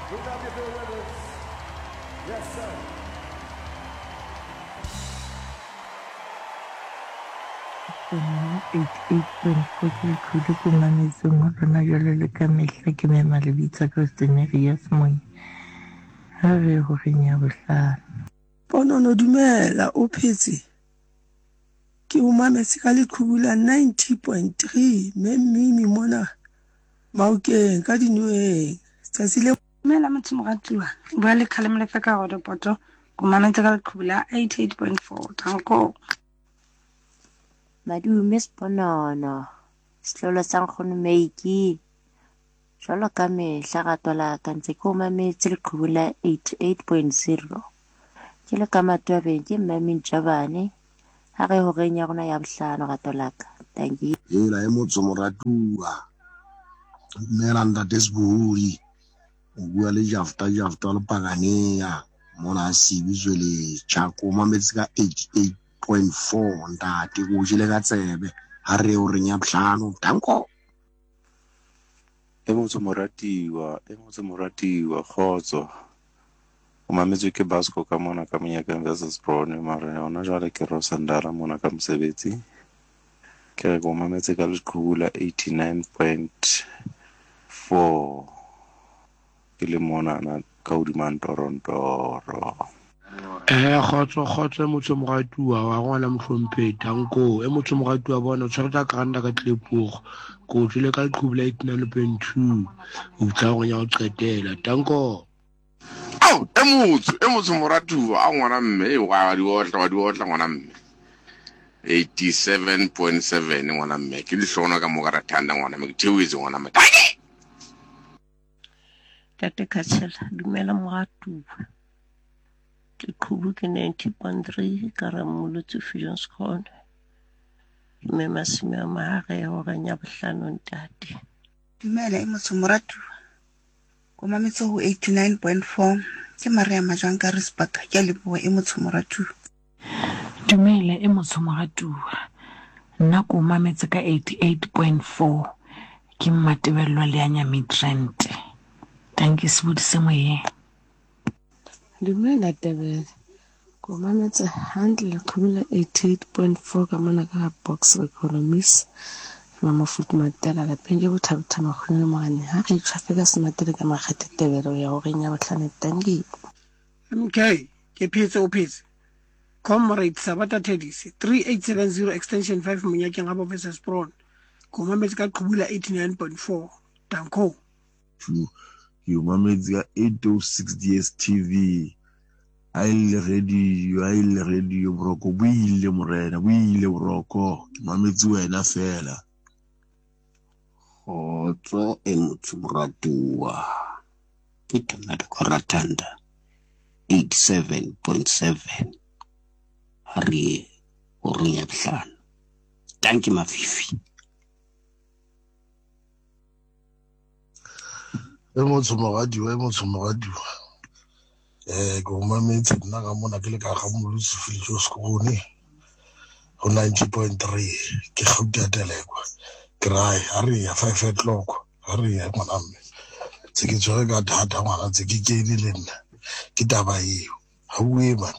We love you, Bill Withers. Yes, sir. Nna 88.4 ke leqhudu ko mametseng ho lona jwalo le ka mehla ke mema lebitsa ka Stenerius Monya ha re horeng ya bohlano. Ponono dumela o phetse? Ke o mametse ka leqhubu la 90.3 mme Mimi mona Maokeng ka dinoeng tsatsi le. Dumela motho moratuwa, o bua le Kgalemo Lefe ka Rodopoto, o mametse ka leqhubu la 88.4. Danko. Madume Sponono, setlolo sa nkgono Meiki. Jwalo ka mehla rato la ka ntse ke o mametse leqhubu la 88.0. Ke le ka Matwabeng ke Mmaming Jabane. Ha re horeng ya rona ya bohlano rato la ka. Thank you. Hela e motso moratuwa. Dumela ntate Sebohodi. O bua le Jafta Jafta wa Lepakanea mona a Sibi Zweletša. Ko mametse ka 88.4 ntate ko jele ka tsebe. Ha re horeng ya bohlano. Danko. E motho moratiwa, e motho moratiwa, kgotso. O mametswe ke Basco ka mona ka Monyakeng versus Brone, mara hona jwale ke Rosandala mona ka mosebetsi. Ke re ke o mametse ka leqhubu la 89.4 ke le monana ka hodima ntorontoro. Eh kgotso kgotso e motho moratuwa wa ngwana mohlomphehi tanko e motho moratuwa bona o tshwere tsa kranta ka tlepogo ko o tswile ka leqhubu la 89.2 o fitlha gore ya go qetela tanko. Ao, e motho, e motho moratuwa, a ngwana mme, e wa di otla, wa di otla ngwana mme. 87.7 ngwana mme, ke lehlono ka moka rathanda ngwana mme, ke theoetse ngwana mme. Tanki! Tate Khatshela, dumela moratuwa. Leqhubu ke 90.3 ka Rammolotsi Viljoenskroon. Ke mme masome a mahare horeng ya bohlano ntate. Dumela e motho moratuwa. Ko mametse ho 89.4 ke Maria Majwang ka Risbak. Ke a leboha e motho moratuwa. Dumela e motho moratuwa. Nna ko mametse ka 88.4 ke Mmatebello Leanya Midrand. Dankie sebodi se moyeng. Dumela Tebele. Ko mametse hantle leqhubu la 88.4 ka mona ka ga Box Economies. Mamafutu Matela lapeng ke bothabotha makgone le morane ha re itshwafe ka sematele ka makgethe Tebele o ya horeng ya bohlano tanki. MK, ke phetse o phetse. Comrade Sabata Thedise, 3870 extension 5 Monyakeng ga Bofeses Bron. Ko mametse ka qhubu la 89.4. Danko. Two, ke o mametse ka 806 DSTV. Ha e le radio, ha e le radio boroko bo ile morena, bo ile boroko. Ke mametse wena fela. Kgotso e motho moratuwa. Ke Tonada Koratanda 87.7 ha re ye horeng ya bohlano. Dankie Mafifi. E motsho moradiwa, e motsho moradiwa. Eh, ke o mametse nna ka mona ke le ka ga Molotsi Filijo Sekgone go 90.3 ke gauta ya telekwa ke rae ha re ya 5 o'clock ha re ya ngwana mme tse ke tshwere ka thata ngwana tse ke kene le nna ke taba eo ha bue man.